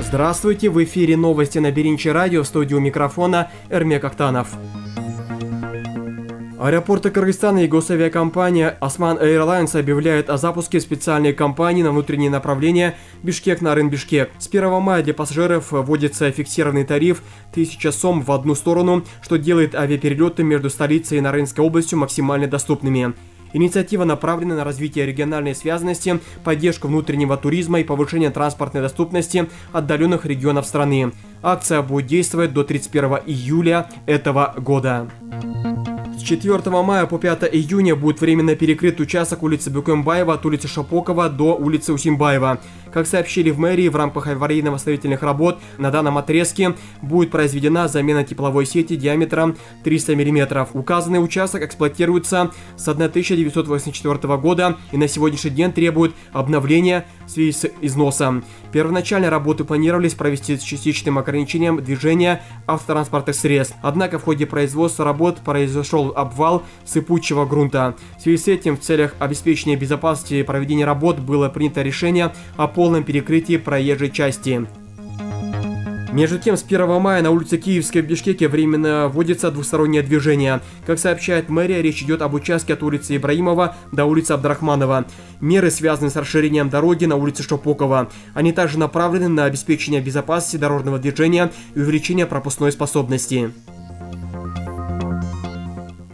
Здравствуйте, в эфире новости на Беринче радио, в студии у микрофона Эрмек Актанов. Аэропорты Кыргызстана и госавиакомпания Osman Airlines объявляют о запуске специальной кампании на внутреннее направление Бишкек-Нарын-Бишкек. С 1 мая для пассажиров вводится фиксированный тариф 1000 сом в одну сторону, что делает авиаперелеты между столицей и Нарынской областью максимально доступными. Инициатива направлена на развитие региональной связанности, поддержку внутреннего туризма и повышение транспортной доступности отдаленных регионов страны. Акция будет действовать до 31 июля этого года. С 4 мая по 5 июня будет временно перекрыт участок улицы Бюкембаева от улицы Шапокова до улицы Усимбаева. Как сообщили в мэрии, в рамках аварийно-восстановительных работ на данном отрезке будет произведена замена тепловой сети диаметром 300 мм. Указанный участок эксплуатируется с 1984 года и на сегодняшний день требует обновления в связи с износом. Первоначально работы планировались провести с частичным ограничением движения автотранспортных средств. Однако в ходе производства работ произошел обвал сыпучего грунта. В связи с этим в целях обеспечения безопасности проведения работ было принято решение о полном перекрытии проезжей части. Между тем, с 1 мая на улице Киевской в Бишкеке временно вводится двустороннее движение. Как сообщает мэрия, речь идет об участке от улицы Ибраимова до улицы Абдрахманова. Меры связаны с расширением дороги на улице Шапокова. Они также направлены на обеспечение безопасности дорожного движения и увеличение пропускной способности.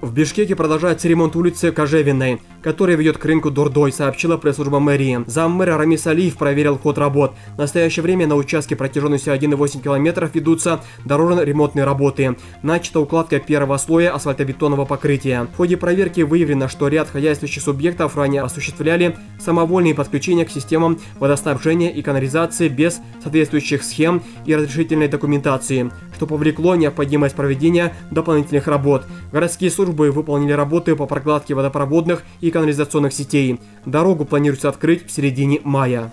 В Бишкеке продолжается ремонт улицы Кожевенной, которая ведет к рынку Дордой, сообщила пресс-служба мэрии. Заммэра Рамис Алиев проверил ход работ. В настоящее время на участке протяженностью 1,8 км ведутся дорожно-ремонтные работы. Начата укладка первого слоя асфальтобетонного покрытия. В ходе проверки выявлено, что ряд хозяйствующих субъектов ранее осуществляли самовольные подключения к системам водоснабжения и канализации без соответствующих схем и разрешительной документации, что повлекло необходимость проведения дополнительных работ. Городские службы выполнили работы по прокладке водопроводных и канализационных сетей. Дорогу планируется открыть в середине мая.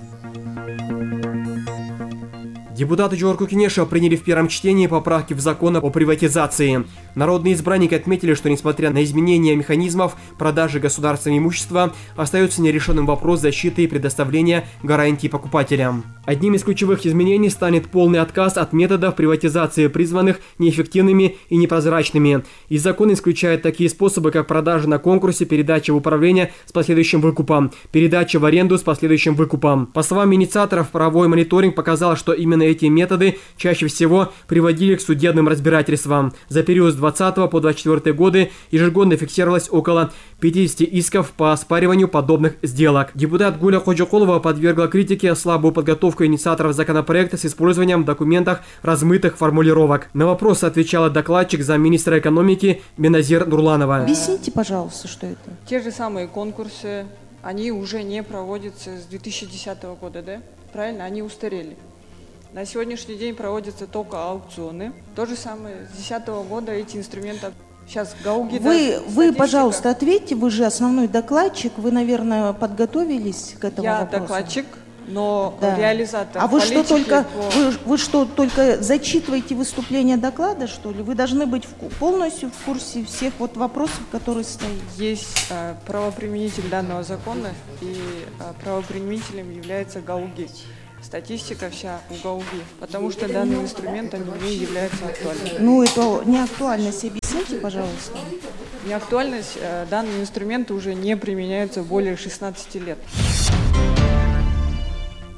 Депутаты Жогорку Кенеша приняли в первом чтении поправки в закон о приватизации. Народные избранники отметили, что несмотря на изменения механизмов продажи государственного имущества, остается нерешенным вопрос защиты и предоставления гарантий покупателям. Одним из ключевых изменений станет полный отказ от методов приватизации, призванных неэффективными и непрозрачными. И закон исключает такие способы, как продажа на конкурсе, передача в управление с последующим выкупом, передача в аренду с последующим выкупом. По словам инициаторов, правовой мониторинг показал, что именно эти методы чаще всего приводили к судебным разбирательствам. За период с 2020 по 2024 годы ежегодно фиксировалось около 50 исков по оспариванию подобных сделок. Депутат Гуля Ходжакулова подвергла критике слабую подготовку инициаторов законопроекта с использованием в документах размытых формулировок. На вопросы отвечала докладчик замминистра экономики Беназир Нурланова. Объясните, пожалуйста, что это? Те же самые конкурсы, они уже не проводятся с 2010 года, да? Правильно? Они устарели. На сегодняшний день проводятся только аукционы. То же самое с 2010 года эти инструменты. Сейчас Гауги... Вы, пожалуйста, ответьте, вы же основной докладчик, вы, наверное, подготовились к этому вопросу. Я докладчик, но да. реализатор. А вы что, только зачитываете выступление доклада, что ли? Вы должны быть полностью в курсе всех вот вопросов, которые стоят. Есть правоприменитель данного закона, и правоприменителем является Гауги. Статистика вся у Гауги, потому что данный инструмент не является актуальным. Ну, это неактуальность, объясните, пожалуйста. Неактуальность, данные инструменты уже не применяются более 16 лет.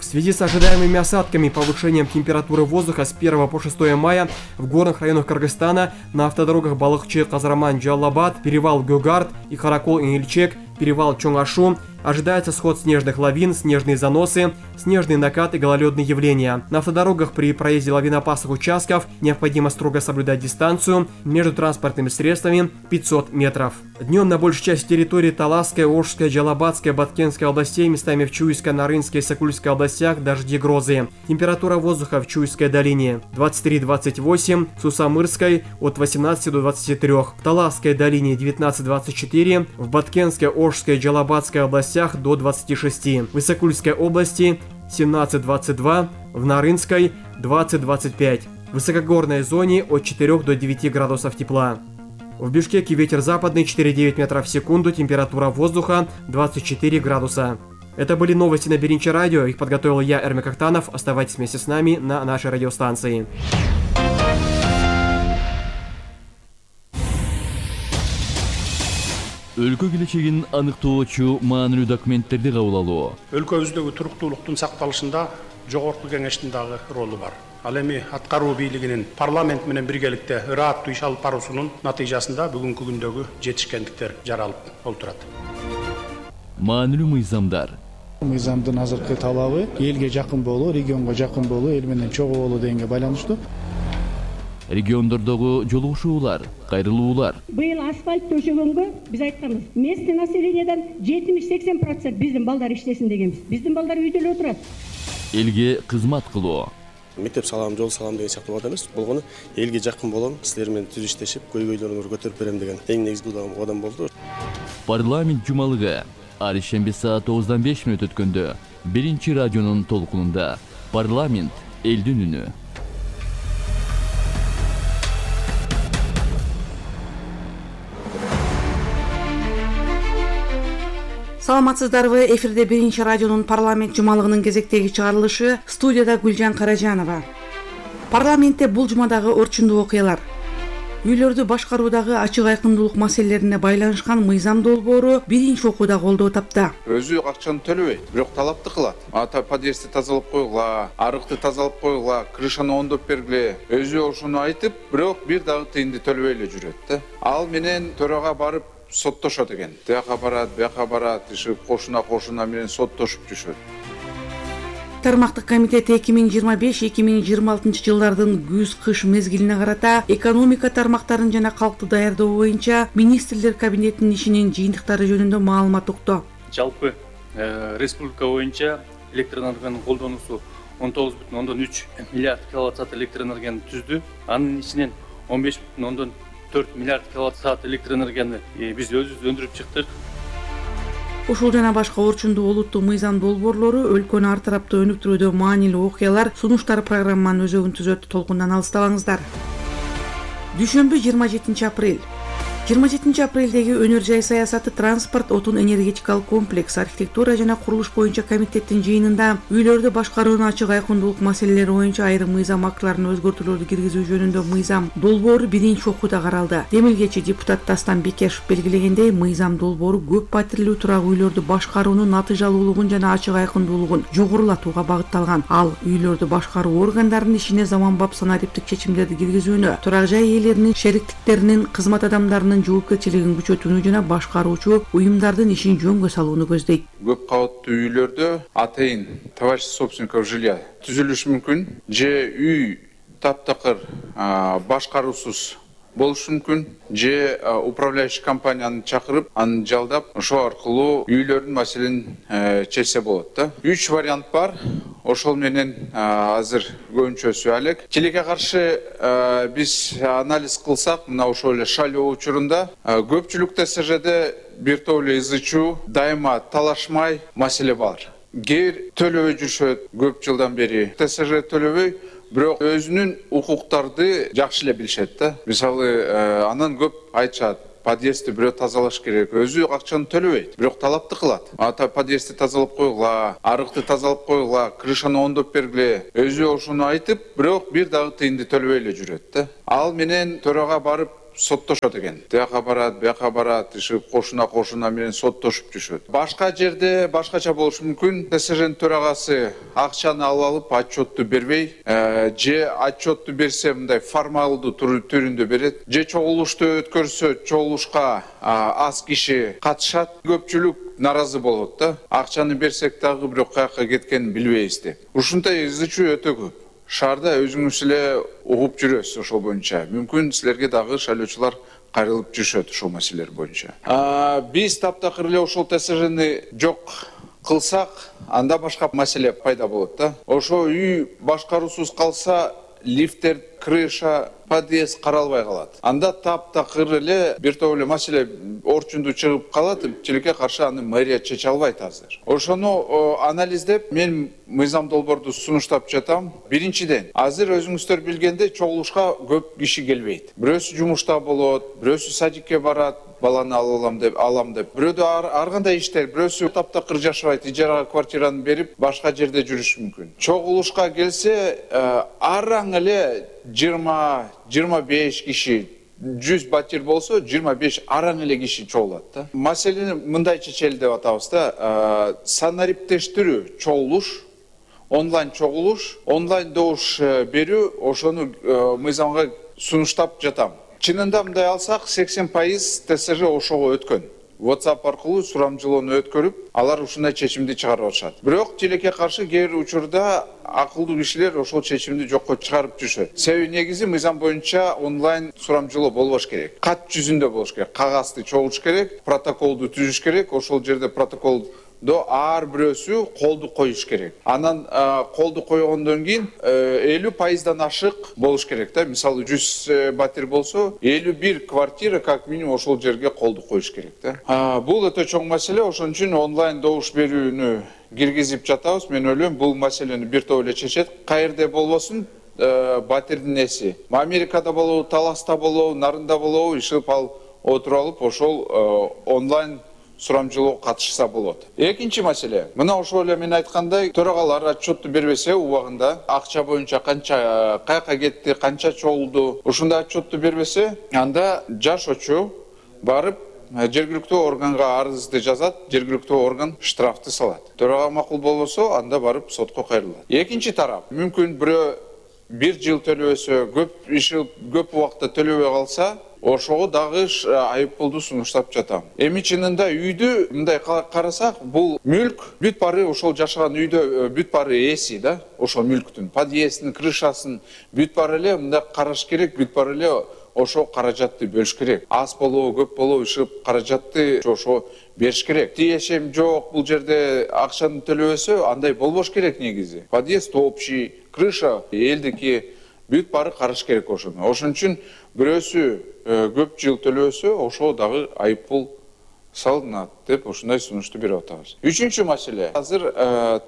В связи с ожидаемыми осадками и повышением температуры воздуха с 1 по 6 мая в горных районах Кыргызстана на автодорогах Балыкчы, Казарман, Джалабад, перевал Гюгард и Харакол-Инильчек, перевал Чоңашу ожидается сход снежных лавин, снежные заносы, снежный накат и гололедные явления. На автодорогах при проезде лавинопасных участков необходимо строго соблюдать дистанцию между транспортными средствами 500 метров. Днем на большей части территории Таласской, Ошской, Джалабадской, Баткенской областей, местами в Чуйской, Нарынской и Сокульской областях дожди, грозы. Температура воздуха в Чуйской долине 23-28, в Сусамырской от 18 до 23, в Таласской долине 19-24, в Баткенской, Ошской и Джалабадской областях до 26, в Исыкульской области 17-22, в Нарынской 20-25, в высокогорной зоне от 4 до 9 градусов тепла. В Бишкеке ветер западный 4,9 метров в секунду, температура воздуха 24 градуса. Это были новости на Биринчи радио. Их подготовил я, Эрмек Актанов. Оставайтесь вместе с нами на нашей радиостанции. Өлкө келечегин аныктоочу маанилүү документтерди кабыл алуу. Өлкөбүздөгү туруктуулуктун сакталышында жогорку кеңештин дагы ролу бар. Ал эми аткаруу бийлигинин парламент менен биргеликте ырааттуу иш алып баруусунун натыйжасында бүгүнкү күндөгү жетишкендиктер жаралып олтурат. Маанилүү мыйзамдар. Мыйзамдын азыркы талабы элге жакын болуу, регионго жакын болуу, эл менен чогуу болуу дегенге байланыштуу. Региондордогу жолугушуулар, кайрылуулар. Быйыл асфальт төшөгөнгө биз айтканбыз. Местный населениеден 70-80% биздин балдар иштесин дегенбиз. Биздин балдар үйдө эле отурат. Элге кызмат кылуу. Мектеп салам, жол салам деген сыяктуу бат эмес. Болгону элге жакын болом, силер менен түз иштешип, көйгөйлөрүңөрдү көтөрүп берем деген эң негизги кадам болду. Парламент жумалыгы ар ишемби саат 9:05 өткөндө Биринчи радионун толкунунда парламент элдин үнү. Саламатсыздарбы? Эфирде Биринчи радионун парламент жумалыгынын кезектеги чыгарылышы. Студияда Гүлжан Каражанова. Парламентте бул жумадагы орчундуу окуялар. Үйлөрдү башкаруудагы ачык айкындуулук маселелерине байланышкан мыйзам долбоору биринчи окууда колдоо тапты. Өзү акчаны төлөбөйт, бирок талапты кылат. Подъездди тазалап койгула, арыкты тазалап койгула, крышаны оңдоп бергиле. Өзү ошону айтып, бирок бир дагы тыйынды төлөбөй эле жүрөт да. Ал менен төрага барып соттошот экен. Тияка барат, иши кошуна менен соттошуп жүрүшөт. Тармактык комитет 2025-2026 жылдардын күз-кыш мезгилине карата экономика тармактарын жана калкты даярдоо боюнча министрлер кабинетинин ишинин жыйынтыктары жөнүндө маалымат укту. Жалпы республика боюнча электр энергиянын колдонуусу 19,3 миллиард киловатт-саат электр энергияны түздү. Анын ичинен 15,4 миллиард киловатт-саат электр энергияны биз өзүбүз өндүрүп чыктык. Ушул жана башка орчундуу олуттуу мыйзам долбоорлору өлкөнү ар тараптуу өнүктүрүүдө маанилүү окуялар, сунуштар программанын өзөгүн түзөт. Толкундан алыстабаңыздар. Дүйшөмбү 27 апрель. 27 апрелдеги өнөр жай саясаты, транспорт, отун энергетикалык комплекс, архитектура жана курулуш боюнча комитеттин жыйынында үйлөрдү башкаруунун ачык айкындуулук маселелери боюнча айрым мыйзам актыларына өзгөртүүлөрдү киргизүү жөнүндө мыйзам долбоору биринчи окууда каралды. Демилгечи депутат Дастан Бекешев белгилегендей, мыйзам долбоору көп патирлүү турак үйлөрдү башкаруунун натыйжалуулугун жана ачык айкындуулугун жогорулатууга багытталган. Ал үйлөрдү башкаруу органдарынын ишине заманбап санариптик чечимдерди киргизүүнү, турак жай ээлеринин, шериктиктеринин, кызмат адамдарынын жоопкерчилигин күчөтүүнү жана башкаруучу уюмдардын ишин жөнгө салууну көздөйт. Көп кабаттуу үйлөрдө атайын товарищество собственников жилья түзүлүшү мүмкүн. Же үй таптакыр башкаруусуз болушу мүмкүн. Же управляющий компанияны чакырып, аны жалдап, ошо аркылуу үйлөрдүн маселени чечсе болот да. 3 вариант бар. Ошол менен азыр көбүнчөсү алек. Тилекке каршы биз анализ кылсак, мына ошол эле шайлоо учурунда көпчүлүк ТСЖде бир топ эле ызычуу, дайыма талашмай маселе бар. Кээ төлөбөй жүрүшөт көп жылдан бери. ТСЖ төлөбөй, бирок өзүнүн укуктарды жакшы эле билишет да. Мисалы, анан көп айтышат, подъездди бирөө тазалаш керек. Өзү акчаны төлөбөйт, бирок талапты кылат. Подъездди тазалап койгула, арыкты тазалап койгула, крышаны оңдоп бергиле. Өзү ошону айтып, бирок бир дагы тыйынды төлөбөй эле жүрөт да. Ал менен төрага барып соттошот экен. Тияка барат, иши кошуна менен соттошуп жүрүшөт. Башка жерде башкача болушу мүмкүн. ТСЖнын төрагасы акчаны алып отчетту бербей, же отчетту берсе мындай формалдуу түрүндө берет, же чогулушту өткөрсө чогулушка аз киши катышат. Көпчүлүк наразы болот да. Акчаны берсек дагы бирок каяка кеткенин билбейбиз деп. Ушундай ызычуу өтө көп. Шаарда өзүңүз эле угуп жүрөсүз ошол боюнча. Мүмкүн силерге дагы шайлоочулар кайрылып жүрүшөт ошол маселелер боюнча. Биз таптакыр эле ошол ТСЖни жок кылсак, анда башка маселе пайда болот да. Ошо үй башкаруусуз калса, лифттер, крыша, подъезд каралбай калат. Анда таптакыр эле бир топ эле маселе орчунду чыгып калат, тилекке каршы аны мэрия чече албайт азыр. Ошону анализдеп, мен мыйзам долбоорду сунуштап жатам. Биринчиден, азыр өзүңүздөр билгендей чогулушка көп киши келбейт. Бирөөсү жумушта болот, бирөөсү садикке барат, баланы алам деп. Бирөөдө ар кандай иштер, бирөөсү таптакыр жашабайт, ижарага квартираны берип, башка жерде жүрүшү мүмкүн. Чогулушка келсе, араң эле 20-25 киши 100 батир болсо 25 араң эле киши чогулат да. Маселени мындай чечели деп атабыз да. Санариптештирүү чогулуш, онлайн чогулуш, онлайн добуш берүү, ошону мыйзамга сунуштап жатам. Чынында мындай алсак 80% ТСЖ ошого өткөн. WhatsApp аркылуу сурамжылоону өткөрүп, алар ушундай чечимди чыгарып атышат. Бирок тилекке каршы кээ бир учурда акылдуу кишилер ошол чечимди жокко чыгарып жүрүшөт. Себеби негизи мыйзам боюнча онлайн сурамжылоо болбош керек. Кат жүзүндө болуш керек. Кагазды чогулуш керек, протоколду түзүш керек. Ошол жерде протоколдо ар бирөөсү колду коюш керек. Анан колду койгондон кийин 50%дан ашык болуш керек да. Мисалы 100 батир болсо, 51 квартира как минимум ошол жерге колду коюш керек да. Бул өтө чоң маселе, ошон үчүн онлайн добуш берүүнү киргизип жатабыз. Мен ойлойм, бул маселени бир топ эле чечет. Каерде болбосун, батирдин эси. Америкада болобу, Таласта болобу, Нарында болобу, ишип отуруп алып, ошол онлайн сурамжылоо катышса болот. Экинчи маселе. Мына ошол эле мен айткандай, төрагалар отчетту бербесе убагында, акча боюнча канча каяка кетти, канча чогулду, ушундай отчетту бербесе, анда жашоочу барып жергиликтүү органга арызды жазат, жергиликтүү орган штрафты салат. Төрага макул болбосо, анда барып сотко кайрылат. Экинчи тарап, мүмкүн бирөө 1 жыл төлөбөсө, көп убакта төлөбөй калса, ошого дагы айыппулду сунуштап жатам. Эми чынында үйдү мындай карасак, бул мүлк бүт баары ошол жашаган үйдө бүт баары эси да, ошол мүлктүн, подъездин, крышасын бүт баары эле мындай караш керек, бүт баары эле ошо каражатты бөлүш керек. Аз болобу, көп болобу, ишип каражатты ошо бериш керек. Тиешем жок, бул жерде акчаны төлөбөсө, андай болбош керек негизи. Подъезд общий, крыша элдики, бүт баары караш керек ошону. Ошон үчүн бирөөсү көп жыл төлөбөсө, ошо дагы айыппул салынат деп ушундай сунушту берип атабыз. Үчүнчү маселе. Азыр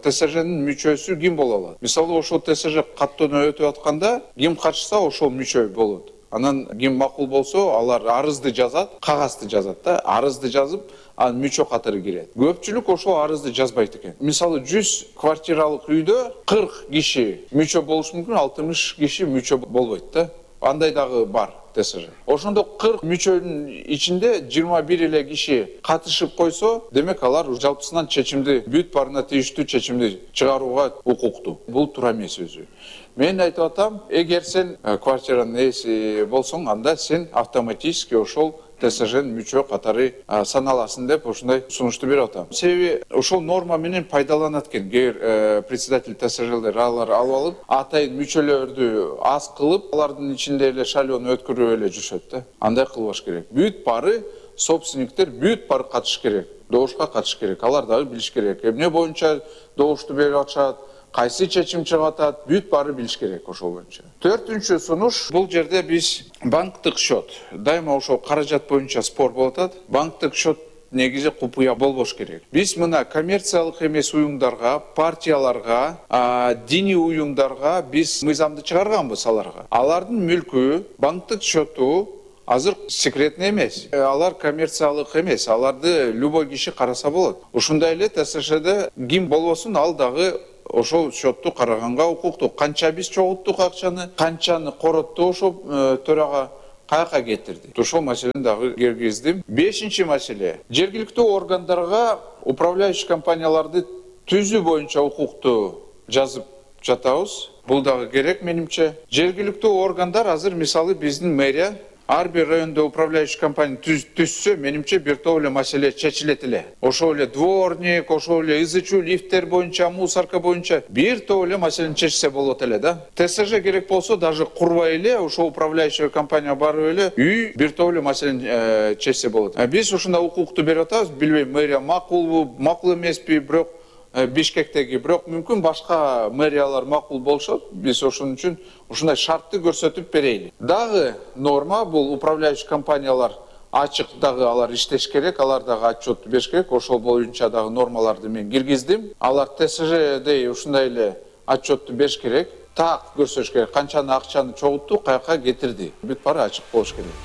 ТСЖнын мүчөсү ким боло алат? Мисалы, ошол ТСЖ каттоonu өтүп атканда, ким катышса ошол мүчө болот. Анан ким макул болсо, алар арызды жазат, кагазды жазат да, арызды жазып, анан мүчө катары кирет. Көпчүлүк ошол арызды жазбайт экен. Мисалы, 100 квартиралык үйдө 40 киши мүчө болуш мүмкүн, 60 киши мүчө болбойт да. Андай дагы бар ТСЖ. Ошондо 40 мүчөнүн ичинде 21 эле киши катышып койсо, демек алар жалпысынан чечимди, бүт баарына тийиштүү чечимди чыгарууга укуктуу. Бул туура эмес өзү. Мен айтып атам, эгер сен квартиранын ээси болсоң, анда сен автоматически ошол ТСЖнын мүчө катары саналасың деп ушундай сунушту берип атам. Себеби ошол норма менен пайдаланат экен. Председатель ТСЖлер алар алып алып, атайын мүчөлөрдү аз кылып, алардын ичинде эле шайлоону өткөрүп эле жүрүшөт да. Андай кылбаш керек. Бүт баары собственниктер бүт баары катыш керек. Добушка катыш керек. Алар дагы билиш керек. Эмне боюнча добушту берип атышат, кайсы чечим чыгып атат, бүт баары билиш керек ошол боюнча. Төртүнчү сунуш, бул жерде биз банктык счет, дайыма ошол каражат боюнча спор болуп атат. Банктык счет негизи купуя болбош керек. Биз мына коммерциялык эмес уюмдарга, партияларга, диний уюмдарга биз мыйзамды чыгарганбыз аларга. Алардын мүлкү, банктык счету азыр секретный эмес. Алар коммерциялык эмес, аларды любой киши караса болот. Ушундай эле ТСЖде ким болбосун, ал дагы ошол счетту караганга укуктуу. Канча биз чогулттук акчаны, канчаны коротту ошол төрага, каяка кетирди. Ошол маселени дагы киргиздим. Бешинчи маселе. Жергиликтүү органдарга управляющий компанияларды түзүү боюнча укукту жазып жатабыз. Бул дагы керек менимче. Жергиликтүү органдар азыр мисалы биздин мэрия ар бир райондо управляющий компания түзсө, менимче бир топ эле маселе чечилет эле. Ошол эле дворник, ошол эле ызычуу лифттер боюнча, мусорка боюнча бир топ эле маселени чечсе болот эле да. ТСЖ керек болсо, даже курбай эле ошол управляющий компания барып эле үй бир топ эле маселени чечсе болот. Биз ушундай укукту берип атабыз, билбейм мэрия макулбу, макул эмеспи, бирок Бишкектеги, бирок мүмкүн башка мэриялар макул болушат. Биз ошон үчүн ушундай шартты көрсөтүп берейли. Дагы норма бул управляющий компаниялар ачык дагы алар иштеш керек, алар дагы отчет бериш керек. Ошол боюнча дагы нормаларды мен киргиздим. Алар ТСЖде ушундай эле отчетту бериш керек. Так көрсөтүш керек, канчаны акчаны чогултту, каяка кетирди. Бүт баары ачык болуш керек.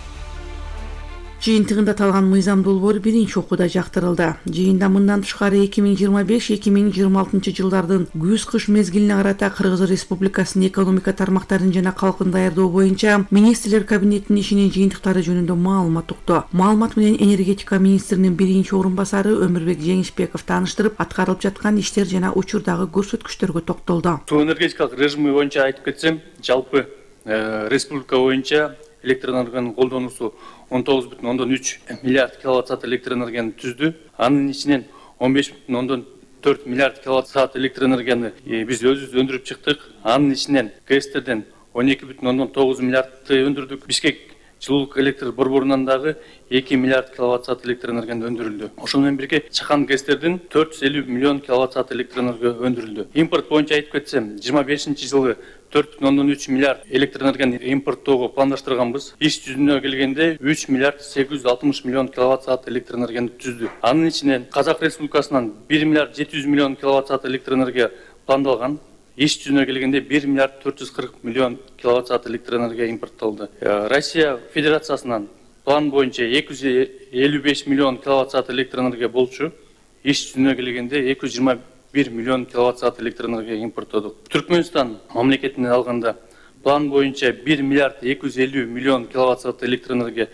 Жыйынтыгында аталган мыйзам долбоору биринчи окууда жактырылды. Жыйында мындан тышкары 2025-2026 жылдардын күз-кыш мезгилине карата Кыргыз Республикасынын экономика тармактарын жана калкын даярдоо боюнча министрлер кабинетинин ишинин жыйынтыктары жөнүндө маалымат укту. Маалымат менен энергетика министринин биринчи орун басары Өмүрбек Жеңишбеков тааныштырып, аткарылып жаткан иштер жана учурдагы көрсөткүчтөргө токтолду. Суу энергетикалык режими боюнча айтып кетсем, жалпы республика боюнча электр энергиянын колдонуусу 19,3 миллиард киловатт саат электр энергияны түздү. Анын ичинен 15,4 миллиард киловатт саат электр энергияны биз өзүбүз өндүрүп чыктык. Анын ичинен ГЭСтерден 12,9 миллиардты өндүрдүк. Бишкек жылуулук электр борборунан дагы 2 миллиард киловатт саат электр энергияны өндүрүлдү. Ошол менен бирге чакан ГЭСтерден 450 миллион киловатт саат электр энергия өндүрүлдү. Импорт боюнча айтып кетсем, 25-жылы 4,3 миллиард электр энергияны импорттоого пландаштырганбыз. Иш жүзүнө келгенде 3 миллиард 860 миллион киловатт саат электр энергияны түздү. Анын ичинен Казак Республикасынан 1 миллиард 700 миллион киловатт саат электр энергия пландалган. Иш жүзүнө келгенде 1 миллиард 440 миллион киловатт саат электр энергия импорттолду. Россия Федерациясынан план боюнча 255 миллион киловатт саат электр энергия болчу. Иш жүзүнө келгенде 221 миллион киловатт саат электр энергия импорттодук. Түркмөнстан мамлекетинен алганда план боюнча 1 миллиард 250 миллион киловатт саат электр энергия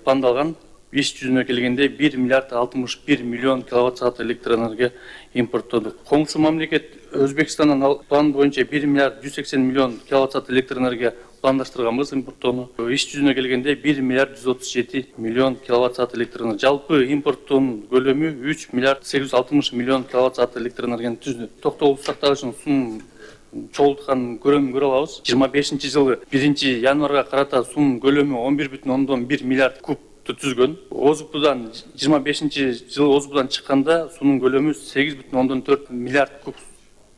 пландалган. Иш жүзүнө келгенде 1 миллиард 61 миллион киловатт саат электр энергия импорттодук. Коңшу мамлекет Өзбекстандан план боюнча 1 миллиард 180 миллион киловатт саат электр энергия пландаштырганбыз импорттоону. Иш жүзүнө келгенде 1 миллиард 137 миллион киловатт саат электр энергия. Жалпы импорттоонун көлөмү 3 миллиард 860 миллион киловатт саат электр энергияны түздү. Токтогул сактагычын сунун чогултканын көрө алабыз. 25-жылы 1-январга карата сунун көлөмү 11,1 миллиард куб түзгөн. ОЗУПдан 25-жылы ОЗУПдан чыкканда сунун көлөмү 8,4 миллиард куб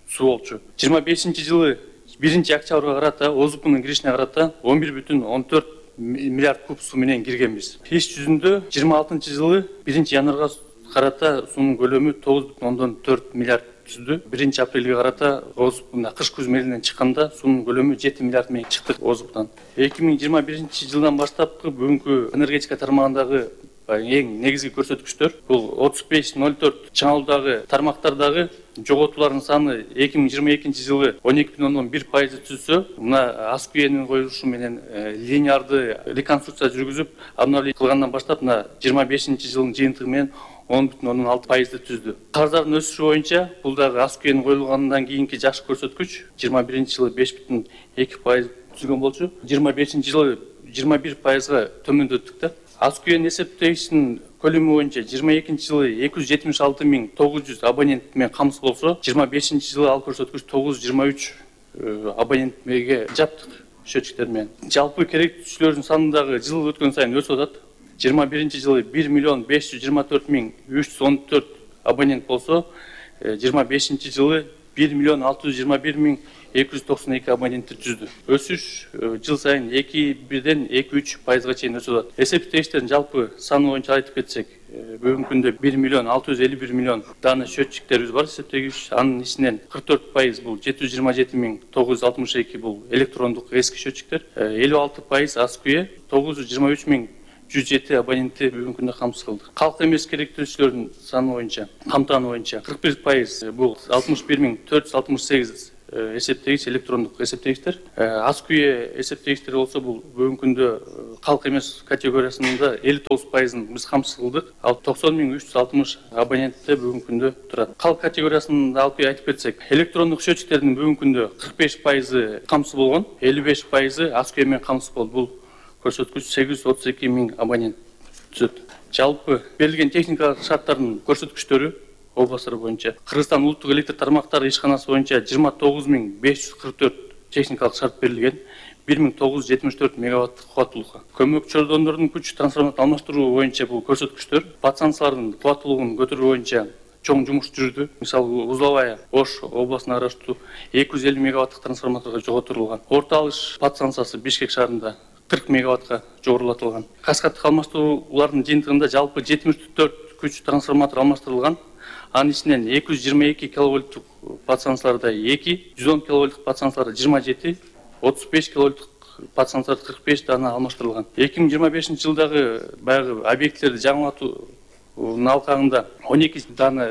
суу болчу. 25-жылы 1-октябрга карата ОЗУПнун киришине карата 11,14 миллиард куб суу менен киргенбиз. Иш жүзүндө 26-жылы 1-январга карата сунун көлөмү 9,4 миллиард түздү. 1-апрелге карата ОЗУПна кыш-күз мезгилинен чыкканда сунун көлөмү 7 миллиард менен чыктык ОЗУПтан. 2021-жылдан баштапкы бүгүнкү энергетика тармагындагы эң негизги көрсөткүчтөр бул 35,04 чаңалуудагы тармактардагы жоготуулардын саны 2022-жылы 12,1% түзсө, мына Аскуенин коюлушу менен линеарды реконструкция жүргүзүп, обновление кылгандан баштап мына 25-жылдын жыйынтыгы менен 10,6% түздү. Карыздардын өсүшү боюнча бул дагы Аскуен коюлгандан кийинки жакшы көрсөткүч. 21-жылы 5,2% түзгөн болчу. 25-жылы 21%га төмөндөттүк да. Аскуен эсептегичтин көлөмү боюнча 22-жылы 276,900 абонент менен камсыз болсо, 25-жылы ал көрсөткүч 923 абонентке жаптык счетчиктер менен. Жалпы керектүүчүлөрдүн саны дагы жыл өткөн сайын өсүп атат. 21-жылы 1,524,314 абонент болсо, 25-жылы 1,621,292 абонентти түздү. Өсүш жыл сайын 2,1-ден 2,3%га чейин өсүп атат. Эсептегичтердин жалпы саны боюнча айтып кетсек, бүгүнкү күндө 1,651,000,000 дана счетчиктерибиз бар эсептегич. Анын ичинен 44% бул 727,962 бул электрондук эски счетчиктер, 56% Аскуе, 923,107 абонентти бүгүнкү күндө камсыз кылдык. Калк эмес керектүүчүлөрдүн саны боюнча, камтааны боюнча 41% бул 61,468 эсептегич электрондук эсептегичтер. Аскуе эсептегичтер болсо бул бүгүнкү күндө калк эмес категориясында 59%ын биз камсыз кылдык. Ал 90,360 абонентте бүгүнкү күндө турат. Калк категориясында алып айтып кетсек, электрондук счетчиктердин бүгүнкү күндө 45% камсыз болгон, 55% Аскуе менен камсыз болду. Бул көрсөткүч 832,000 абонент түзөт. Жалпы берилген техникалык шарттардын көрсөткүчтөрү областтар боюнча Кыргызстан улуттук электр тармактары ишканасы боюнча 29,544 техникалык шарт берилген, 1974 мегаватттык кубаттуулукка. Көмөк чордондордун күч трансформатор алмаштыруу боюнча бул көрсөткүчтөр подстанциялардын кубаттуулугун көтөрүү боюнча чоң жумуш жүрдү. Мисалы, Узловая, Ош областына караштуу 250 мегаватттык трансформаторго жоготурулган. Орто алыш подстанциясы Бишкек шаарында 40 мегаваттка жогорулатылган. Каскаддык алмаштыруулардын жыйынтыгында жалпы 74 күч трансформатор алмаштырылган. Анын ичинен 222 киловольттук подстанцияларда 2, 110 киловольттук подстанцияларда 27, 35 киловольттук подстанциялар 45 дана алмаштырылган. 2025 жылдагы баягы объектилерди жаңылатуунун алкагында 12 дана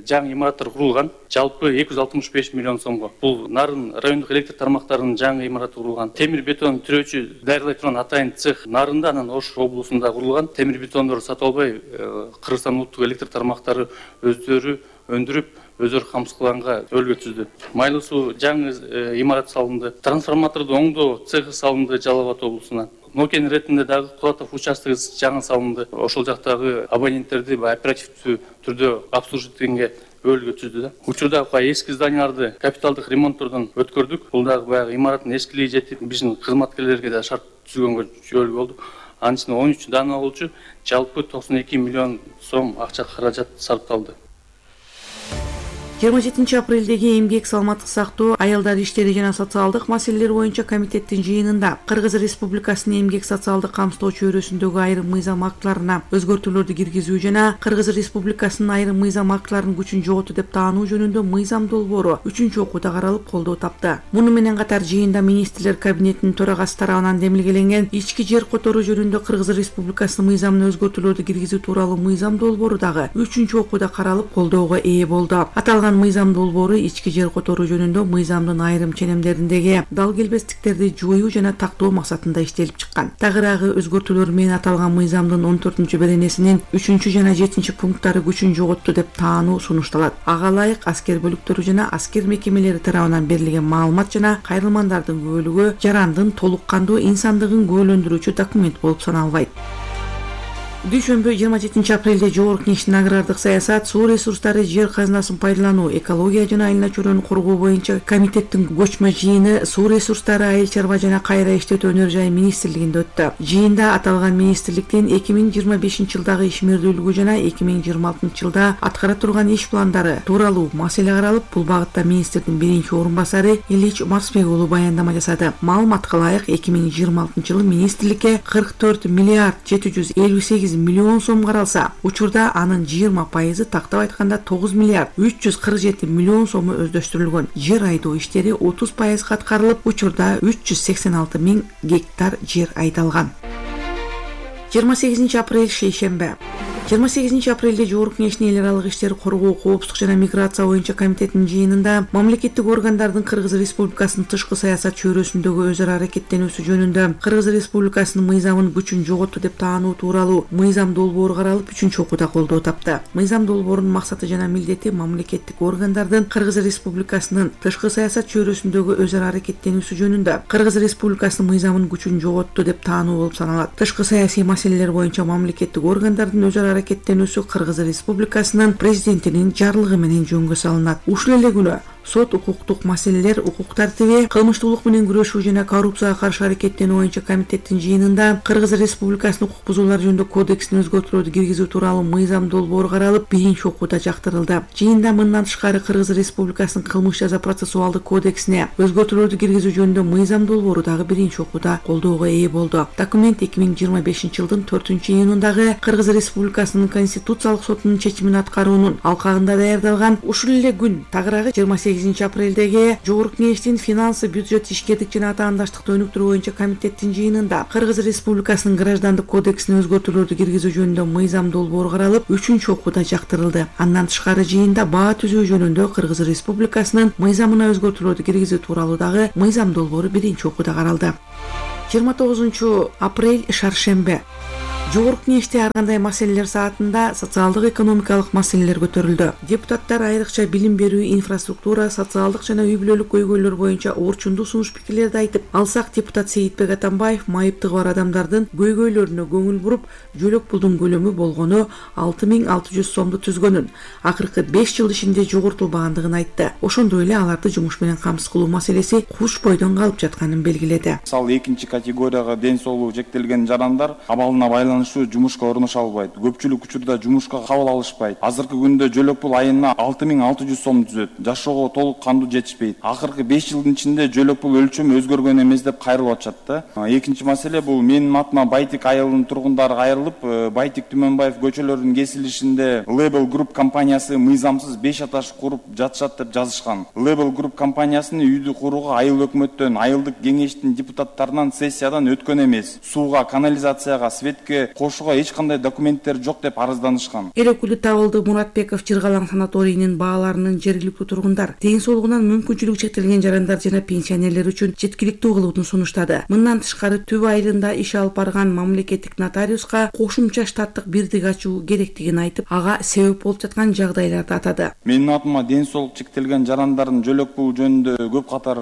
жаңы имараттар курулган. Жалпы 265 миллион сомго. Бул Нарын райондук электр тармактарынын жаңы имараты курулган. Темир бетон түрөөчү даярдай турган атайын цех Нарында, анан Ош облусунда курулган. Темир бетондорду сатып албай, Кыргызстан улуттук электр тармактары өздөрү өндүрүп, өздөрү камсыздганга өлгө түздү. Майлуу суу жаңы имарат салынды. Трансформаторду оңдоо цехи салынды Жалал Абад облусуна. Нокен ретинде дагы Кулатов участогы жаңы салынды. Ошол жактагы абоненттерди оперативдүү түрдө обслуживаткенге өлгө түздү. Учурда эски зданияларды капиталдык ремонттордон өткөрдүк. Бул дагы баягы имараттын эскилиги жетип, биздин кызматкерлерге да шарт түзгөнгө жол болду. Анын ичинде 13 дана болчу, жалпы 92 миллион сом акча каражат сарпталды. 27 апрелдеги эмгек саламаттык сактоо, аялдар иштери жана социалдык маселелер боюнча комитеттин жыйынында Кыргыз Республикасынын эмгек социалдык камсыздоо чөйрөсүндөгү айрым мыйзам актыларына өзгөртүүлөрдү киргизүү жана Кыргыз Республикасынын айрым мыйзам актыларынын күчүн жоготту деп таануу жөнүндө мыйзам долбоору 3-окууда каралып колдоо тапты. Муну менен катар жыйында министрлер кабинетинин төрагасы тарабынан демилгеленген ички жер которуу жөнүндө Кыргыз Республикасынын мыйзамына өзгөртүүлөрдү киргизүү тууралуу мыйзам долбоору дагы 3-окууда каралып колдоого ээ болду. Аталган мыйзам долбоору ички жер которуу жөнүндө мыйзамдын айрым ченемдериндеги дал келбестиктерди жоюу жана тактоо максатында иштелип чыккан. Тагыраагы өзгөртүүлөр менен аталган мыйзамдын 14-беренесинин 3 жана 7 пункттары күчүн жоготту деп таануу сунушталат. Ага ылайык аскер бөлүктөрү жана аскер мекемелери тарабынан берилген маалымат жана кайрылмандардын көбөлүгү жарандын толук кандуу инсандыгын күбөлөндүрүүчү документ болуп саналбайт. Дүйшөмбү 27 апрелде Жогорку Кеңештин агрардык саясат, суу ресурстары, жер казынасын пайдалануу, экология жана айылына чөйрөнү коргоо боюнча комитеттин көчмө жыйыны суу ресурстары, айыл чарба жана кайра иштетүү өнөр жай министрлигинде өттү. Жыйында аталган министрликтин 2025 жылдагы ишмердүүлүгү жана 2026 жылда аткара турган иш пландары тууралуу маселе каралып, бул багытта министрдин биринчи орун басары Ильич Марсбек уулу баяндама жасады. Маалыматка ылайык 2026 жылы министрликке 44 миллиард 758 миллион сом каралса, учурда анын 20% тактап айтканда 9 миллиард 347 миллион сому өздөштүрүлгөн. Жер айдоо иштери 30% аткарылып, учурда 386 миң гектар жер айдалган. 28 апрель шейшембе. 28 апрелде Жогорку Кеңештин эл аралык иштер коргоо, коопсуздук жана миграция боюнча комитетинин жыйынында мамлекеттик органдардын Кыргыз Республикасынын тышкы саясат чөйрөсүндөгү өзара аракеттенүүсү жөнүндө Кыргыз Республикасынын мыйзамын күчүн жоготту деп таануу тууралуу мыйзам долбоору каралып 3-окууда колдоо тапты. Мыйзам долбоорунун максаты жана милдети мамлекеттик органдардын Кыргыз Республикасынын тышкы саясат чөйрөсүндөгү өзара аракеттенүүсү жөнүндө Кыргыз Республикасынын мыйзамын күчүн жоготту деп таануу болуп саналат. Тышкы саясий маселелер боюнча мамлекеттик органдардын өзара аракеттенүүсү Кыргыз Республикасынын президентинин жарлыгы менен жөнгө салынат. Ушул эле күнү сот укуктук маселелер, укук тартиби, кылмыштуулук менен күрөшүү жана коррупцияга каршы аракеттенүү боюнча комитеттин жыйынында Кыргыз Республикасынын укук бузуулар жөнүндө кодексине өзгөртүүлөрдү киргизүү тууралуу мыйзам долбоору каралып, 1-окууда жактырылды. Жыйында мындан тышкары Кыргыз Республикасынын кылмыш жаза процессуалдык кодексине өзгөртүүлөрдү киргизүү жөнүндө мыйзам долбоору дагы 1-окууда колдоого ээ болду. Документ 2025 жылдын 4-июнундагы Кыргыз Республикасынын Конституциялык сотунун чечимин аткаруунун алкагында даярдалган. Ушул эле күн тагыраагы 28 апрелдеги Жогорку Кеңештин финансы, бюджет, ишкердик жана атаандаштыкты өнүктүрүү боюнча комитеттин жыйынында Кыргыз Республикасынын граждандык кодексине өзгөртүүлөрдү киргизүү жөнүндө мыйзам долбоору каралып, 3-окууда жактырылды. Андан тышкары жыйында баа түзүү жөнүндө Кыргыз Республикасынын мыйзамына өзгөртүүлөрдү киргизүү тууралуу дагы мыйзам долбоору 1-окууда каралды. 29 апрель шаршембе. Жогорку Кеңеште ар кандай маселелер саатында социалдык экономикалык маселелер көтөрүлдү. Депутаттар айрыкча билим берүү, инфраструктура, социалдык жана үй-бүлөлүк көйгөйлөр боюнча орчундуу сунуш пикирлерди айтып, алсак депутат Сейитбек Атамбаев майыптыгы бар адамдардын көйгөйлөрүнө көңүл буруп, жөлөк пулдун көлөмү болгону 6600 сомду түзгөнүн, акыркы 5 жыл ичинде жогортулбагандыгын айтты. Ошондой эле аларды жумуш менен камсыз кылуу маселеси куш бойдон калып жатканын белгиледи. Мисалы, экинчи категорияга ден соолугу чектелген жарандар абалына байланыштуу байланыштуу жумушка орношо албайт. Көпчүлүк учурда жумушка кабыл алышпайт. Азыркы күндө жөлөк пул айына 6600 сом түзөт. Жашоого толук кандуу жетишпейт. Акыркы 5 жылдын ичинде жөлөк пул өлчөмү өзгөргөн эмес деп кайрылып атышат да. Экинчи маселе бул менин атыма Байтик айылынын тургундары кайрылып, Байтик Түмөнбаев көчөлөрүнүн кесилишинде Label Group компаниясы мыйзамсыз 5 этаж куруп жатышат деп жазышкан. Label Group компаниясынын үйдү курууга айыл өкмөттөн, айылдык кеңештин депутаттарынан сессиядан өткөн эмес. Сууга, канализацияга, светке кошууга эч кандай документтер жок деп арызданышкан. Эл өкүлү Табылды Муратбеков Жыргалаң санаторийинин бааларынын жергиликтүү тургундар ден соолугунан мүмкүнчүлүгү чектелген жарандар жана пенсионерлер үчүн жеткиликтүү кылуутун сунуштады. Мындан тышкары Түбү айылында иш алып барган мамлекеттик нотариуска кошумча штаттык бирдик ачуу керектигин айтып, ага себеп болуп жаткан жагдайларды атады. Менин атыма ден соолук чектелген жарандардын жөлөк пул жөнүндө көп катар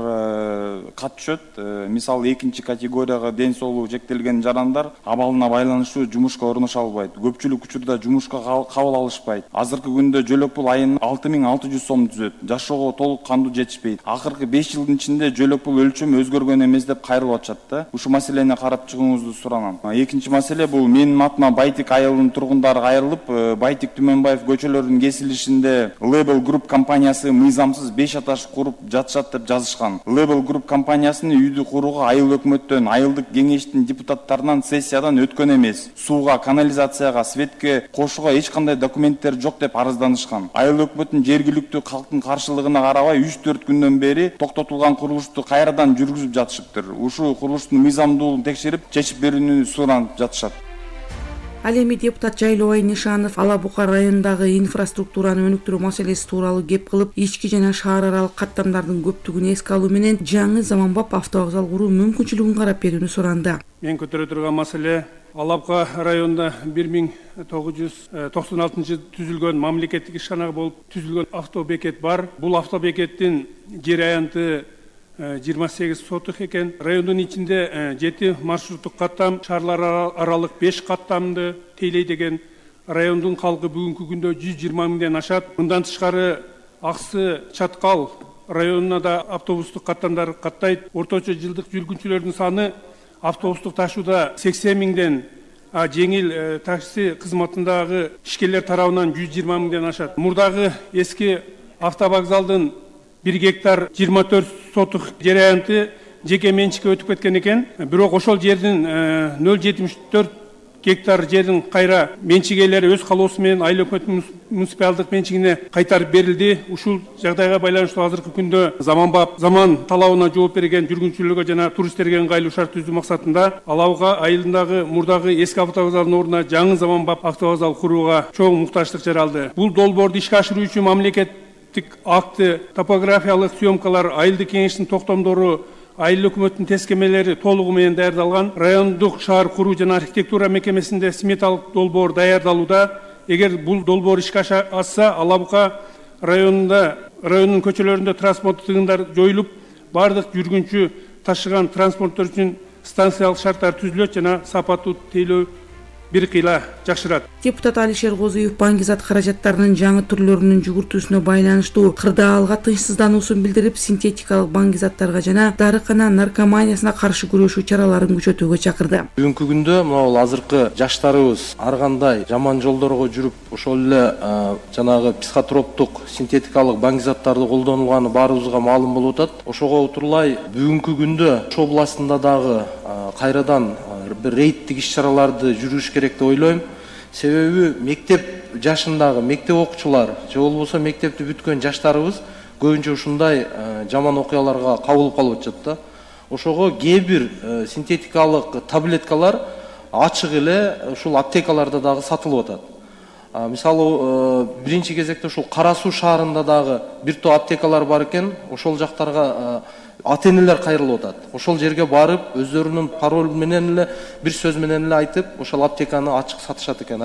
кат түшөт. Мисалы, экинчи категорияга ден соолугу чектелген жарандар абалына байланыштуу жумушка орношо албайт. Көпчүлүк учурда жумушка кабыл алышпайт. Азыркы күндө жөлөк пул айына 6600 сом түзөт. Жашоого толук кандуу жетишпейт. Акыркы 5 жылдын ичинде жөлөк пул өлчөмү өзгөргөн эмес деп кайрылып атышат да. Ушу маселени карап чыгууңузду суранам. Экинчи маселе бул менин атыма Байтик айылынын тургундары кайрылып, Байтик Түмөнбаев көчөлөрүнүн кесилишинде Label Group компаниясы мыйзамсыз 5 этаж куруп жатышат деп жазышкан. Label Group компаниясынын үйдү курууга айыл өкмөттөн, айылдык кеңештин депутаттарынан сессиядан өткөн эмес. Сууга, канализацияга, светке кошууга эч кандай документтер жок деп арызданышкан. Айыл өкмөттүн жергиликтүү калктын каршылыгына карабай 3-4 күндөн бери токтотулган курулушту кайрадан жүргүзүп жатышыптыр. Ушу курулуштун мыйзамдуулугун текшерип, чечип берүүнү суранып жатышат. Ал эми депутат Жайлообай Нишанов Ала Бука районундагы инфраструктураны өнүктүрүү маселеси тууралуу кеп кылып, ички жана шаар аралык каттамдардын көптүгүн эске алуу менен жаңы заманбап автовокзал куруу мүмкүнчүлүгүн карап берүүнү суранды. Мен көтөрө турган маселе Ала Бука районунда 1996 түзүлгөн мамлекеттик ишканага болуп түзүлгөн автобекет бар. Бул автобекеттин жер аянты 28 сотық екен. Райондун ичинде 7 маршруттук каттам, шаарлар аралык 5 каттамды тейлей деген. Райондун халкы бүгүнкү күндө 120 миңден ашат. Мындан тышкары Аксы Чаткал районуна да автобустук каттамдар каттайт. Орточо жылдык жүргүнчүлөрдүн саны автобустук ташууда 80 миңден, жеңил такси кызматындагы ишкерлер тарабынан 120 миңден ашат. Мурдагы эски автовокзалдын 1 гектар 24 сотық жер аянты жеке менчикке өтүп кеткен екен. Бирок ошол жердин 0,74 гектар жердин кайра менчигелери өз калоосу менен айыл өкмөттүн муниципалдык менчигине кайтарып берилди. Ушул жагдайга байланыштуу азыркы күндө заман талабына жооп берген жүргүнчүлөргө жана туристтерге ыңгайлуу шарт түзүү максатында Ала Бука айылындагы мурдагы эски автовокзалдын ордуна жаңы заманбап автовокзал курууга чоң муктаждык жаралды. Бул долбоорду ишке ашыруу үчүн мамлекеттик акты, топографиялык съемкалар, айылдык кеңештин токтомдору, айыл өкмөттүн тескемелери толугу менен даярдалган. Райондук шаар куруу жана архитектура мекемесинде сметалык долбоор даярдалууда. Эгер бул долбоор ишке ашса, Ала Бука районунун көчөлөрүндө транспорттук тыгындар жоюлуп, бардык жүргүнчү ташыган транспорттор үчүн станциялык шарттар түзүлөт жана сапаттуу тейлөө бир кыйла жакшырат. Депутат Алишер Козуев баңгизат каражаттарынын жаңы түрлөрүнүн жүгүртүүсүнө байланыштуу кырдаалга тынчсыздануусун билдирип, синтетикалык баңгизаттарга жана дарыкана наркоманиясына каршы күрөшүү чараларын күчөтүүгө чакырды. Бүгүнкү күндө могул азыркы жаштарыбыз ар кандай жаман жолдорго жүрүп, ошол эле жанагы психотроптук синтетикалык баңгизаттарды колдонулганы баарыбызга маалым болуп атат. Ошого утурлай бүгүнкү күндө Ош областында дагы кайрадан бир рейдтик иш-чараларды жүргүзүш керек деп ойлойм. Себеби мектеп жашындагы мектеп окуучулар же болбосо мектепти бүткөн жаштарыбыз көбүнчө ушундай жаман окуяларга кабылып калып атышат да. Ошого кээ бир синтетикалык таблеткалар ачык эле ушул аптекаларда дагы сатылып атат. Мисалы, биринчи кезекте ушул Кара Суу шаарында дагы бир топ аптекалар бар экен. Ошол жактарга ата-энелер кайрылып атат. Ошол жерге барып, өздөрүнүн пароль менен эле, бир сөз менен эле айтып, ошол аптеканы ачык сатышат экен.